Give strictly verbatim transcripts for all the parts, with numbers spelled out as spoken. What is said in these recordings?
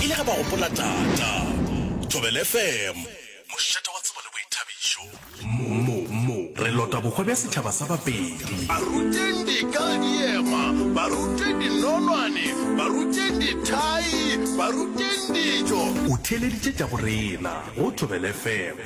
le ge ba gopola tata. Thobela F M, mošate wa tsebo le boithabišo. Mo, mo, re lota bohwa bja setšhaba sa Bapedi. Ba ruteng dika diema, ba ruteng dinonwane, ba ruteng dithai, ba ruteng dijo. O theeleditše tša borena go Thobela F M.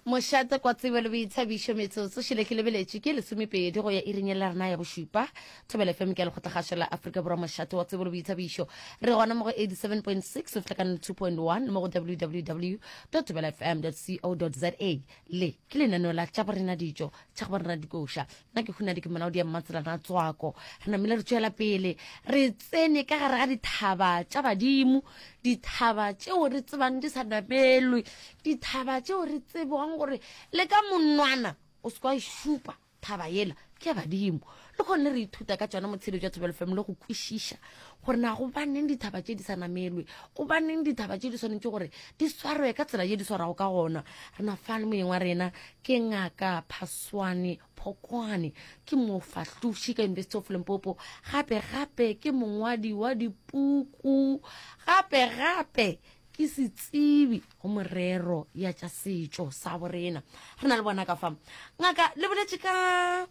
Mošate kwa tsebo le boithabišo metsotso šele ke lebeletše ke lesomepedi go ya iring ya rena ya bošupa. Thobela F M ke ya lekgotlakgašo la Afrika Borwa, mošate wa tsebo le boithabišo. Re gona mo go eighty-seven point six go fihla ka two point one mo go W W W dot thobela F M dot co dot za. Le ke lenaneo la tša borena dijo, tša go borena dikoša. Nna ke Hunadi, ke molaodi ya Mmatselana Tswako. Re namile re tšwela pele, re tsene ka gare ga dithaba tša badimo, dithaba tšeo re tsebang di sa namelwe, dithaba tšeo re tsebang gore le ka monwana o se kwa e šupa thaba yela ke ya badimo. Le kgone re ithuta ka tšona motshelo jwa Thobela F M le go kwešiša gore na gobaneng dithaba tše di sa namelwe, gobaneng dithaba tše di swanetše gore di swarwe ka tsela ye di swarago ka gona. Re na fa le moyeng wa rena ke Ngaka Phaswane Phokwane, ke mofahloši ka University of Limpopo, gape gape ke mongwadi wa dipuku, gape gape ke setsebi go morero ya tša setšo sa borena. Re na le bona ka fa. Ngaka, le boletše ka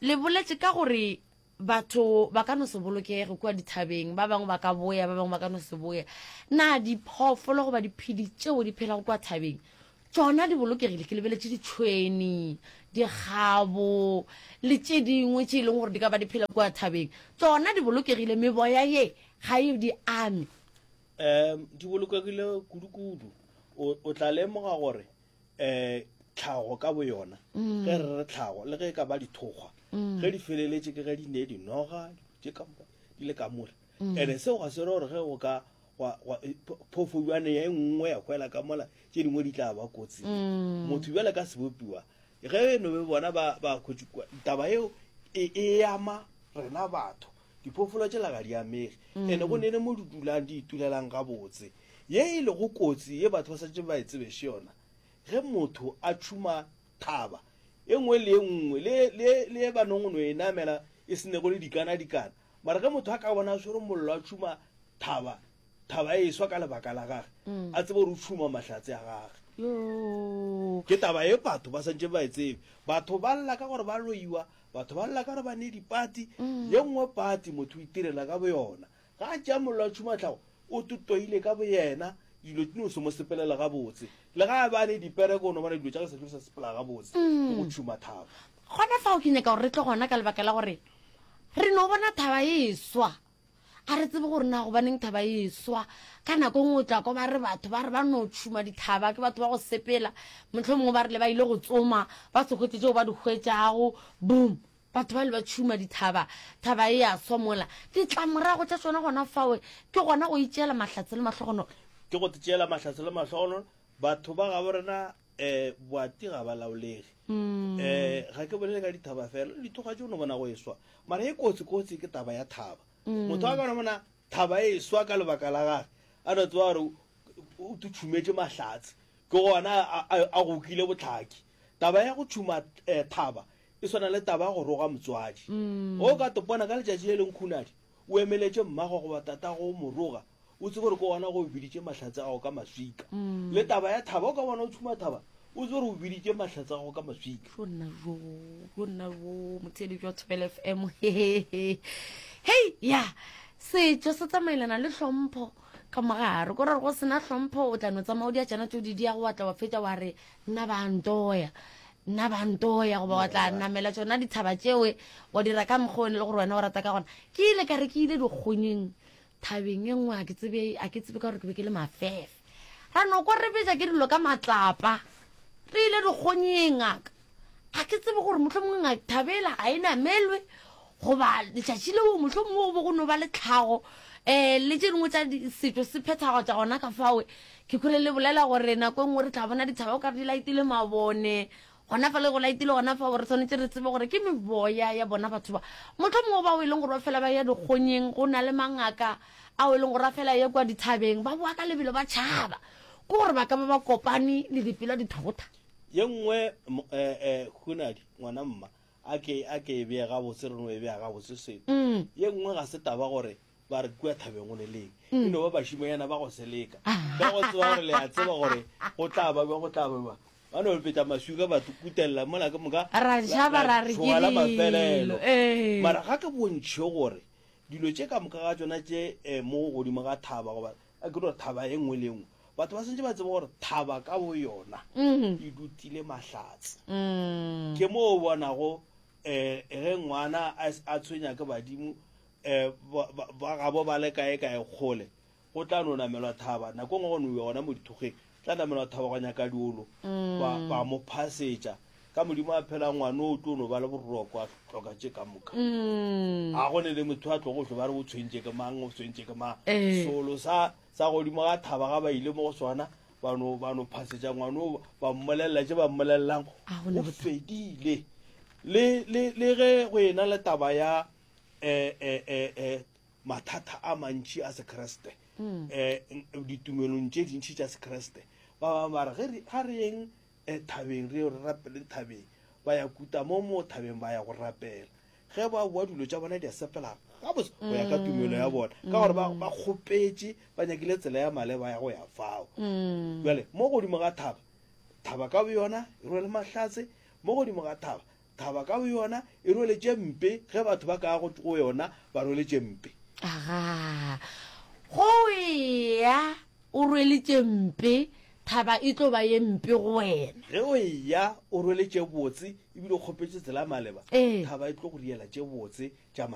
le boletše ka gore batho ba ka no se bolokege kua dithabeng, ba bangwe ba ka boya, ba bangwe ba ka no se boya. Na diphoofolo goba diphedi tšeo di phelago kua thabeng tšona di bolokegile? Ke lebeletše ditšhweni, dikgabo le tše dingwe tše e leng gore di ka ba di phela kua thabeng, tšona di bolokegile? Meboya ye ga e di ame? um di bolokegile kudu-kudu. o o tla lemoga gore um tlhago ka boyona, ge re re tlhago, le ge e ka ba dithokgwa, ge di feleletše ke ge di ne dinoga tše ka moka di le ka mola. And seo ga se re gore ge go ka gwa- gwa- e, pho- phoofojwane ye nngwe ya hwela ka mola, tše dingwe di tla ba kotsing. Motho bjale ka sebopiwa ge no be bona ba ba hwetše kua, taba eo e e ama rena batho. Diphoofolo tšela ga di amege, and go nene mo di dulang, di itulelang gabotse. Ye e lego kotsi ye batho ba santse ba e tsebese yona, ge motho a tšhuma thaba e nngwe le e nngwe le le le ba nong no e namela e senego le dikana dikana, mara ge motho a ka bona a swere mollo a tšhuma thaba, thaba e swa ka lebaka la gage, a tsebe gore o tšhuma mahlatse a gage. Yo. Ke taba e batho ba santse ba e tsebe. Batho ba lla ka gore ba loiwa, batho ba lla ka gore ba ne dipati. Ye nngwe pati motho o itirela ka boyona. Ga a tšea mollo a tšhuma tlhago, o totoile ka boyena, dilo di no se mo sepelela gabotse. Le ga a ba ne dipereko, o no bona dilo tša ge sa tlo sa sepela gabotse, ke go tšhuma thaba. Gona fao ke nyaka gore re tle gona, ka lebaka la gore re no bona thaba e swa, a re tsebe gore na gobaneng thaba e swa. Ka nako e nngwe o tla kwa ba re batho ba re ba no tšhuma dithaba ke batho ba go sepela, motlho mongwe ba rile ba ile go tsoma, ba se hwetše tšeo ba di hwetšago, boom, batho ba le ba tšhuma dithaba, thaba e ya swa mola. Ditlamorago tša tšona gona fao ke gona go itšeela mahlatse le mahlogonolo. Ke go tšeela mahlatse le mahlogonolo. Batho ba gabo rena um boati ga ba laolege. um ga ke bolele ka dithaba fela, le dithoga tše o no bona go e swa, mara e kotsi-kotsi ke taba ya thaba. Motho a ka no bona thaba e swa ka lebaka la gage, a no tseba gore o tšhumetše mahlatse, ke gona a- a a gokile botlhaki. Taba ya go tšhuma eh, thaba e swana le taba ya go roga motswadi. O ka topona ka letšatši le leng khunadi o emeletše mmago goba tatago o mo roga, o tsebe gore ke gona go o biditše mahlatse a gago ka maswika. Le taba ya thaba, o ka bona o tšhuma thaba, o tsebe gore o biditše mahlatse a gago ka maswika. Yo nna jo, yo nna jo, motheeletši wa Thobela F M, hei ya setšo se tsamaelana le hlompho ka mogare, ko re go sena hlompho o tla no tsamaya o dia tšana tšeo di diago, wa tla wa fetša wa re nna ba ntoya, nna ba ntoya, goba wa tla namela tšona dithaba tšewe wa dira ka mokgwa o ne le gore wena o rata ka gona. Ke ile ka re ke ile dikgonyeng thabeng e nngwe, a ke tsebe a ke tsebe ka gore ke be ke le mafefe, ra no kwa re betša ke dilo ka matlapa. Re ile dikgonyeng, ngaka, a ke tsebe gore motlho mongwe thabela ga e namelwe goba letšatši leo motlho mongwe go be go no ba le tlhago um le tše dingwe tša setšo se phethagatša gona ka fawe. Ke kgole le bolela gore nako e nngwe re tla bona dithaba o ka re di laetile mabone gona fa, le go laetile gona fa, re tshwanetse re tsebe gore ke meboya ya bona batho ba motlho mongwe bao e leng gore ba fela ba ya dikgonyeng. Go na le mangaka ao e leng gore a fela ye kwa dithabeng, ba boa ka lebelo ba tšhaba, ke gore ba ka ba ba kopane le dipela dithota. Ye nngwe um hunadi ngwana mma, a ke a ke e bee gabotse, re no e bea gabotse selo. Mm. Ye nngwe ga se taba gore Ba re kua thabeng go ne leng. E no ba bašimanyana ba go seleka. Ka go tseba gore le a tseba gore go tla ba bjang, go tla ba bjang. Ba no betša maswika ba kutelela mola ke moka. Ra tšhaba ra re ke tšhoga la mafelelo. dilo. Ee. Mara ga ke bontšhe gore dilo tše ka moka ga tšona tše eh, mo godimo ga thaba goba a ke no re thaba e nngwe le e nngwe batho ba santse ba tsebe gore thaba ka bo yona e dutile mahlatse. Mm. Ke mo o bonago um ge ngwana a s- a tshwenya ke badimo um ba- ba ba gabo ba le kae kae kgole go tla no namelwa thaba nako e nngwe go no iwa gona mo dithokgeng tla namelwa thaba go nyaka diolo ba ba mo phasetša ka modimo a phela ngwana o tlo no ba le boroko a hloka tše ka moka Mm. ga go ne le motho a tlogo hlwe ba re o tshwentše ke mang o tshwentše ke mang Eh. solo sa sa godimo ga thaba ga ba ile mo go sona ba no ba no phasetša ngwana o ba mmolelela tše ba mmolelelang A go ne o bothata. fedile le le le ge go ena le taba ya eh eh eh eh mathata a mantši a sekreste Mm. eh ditumelong tše dintši tša sekreste ba bangwe ba re ge re- ga re yeng eh, thabeng re ye re rapeleng thabeng ba ya kuta mo mo thabeng ba ya go rapela ge ba boa dilo tša bona di a sepela gabotse go ya ka tumelo ya bona ka gore ba ba kgopetše ba nyakile tsela ya maleba ya go ya fao Mm. bjale mo godimo ga thaba thaba ka boyona e rwele mahlatse mo godimo ga thaba thaba ka boyona e rwele tše mpe ge batho ba ka go go yona ba rwele tše mpe Aga. Go eya o rwele tše mpe, thaba e tlo ba ye mpe go wena. ge o eya o rwele tše botse ebile o kgopetše tsela ya maleba Ee. thaba e tlo go riela tše botse tša maleba.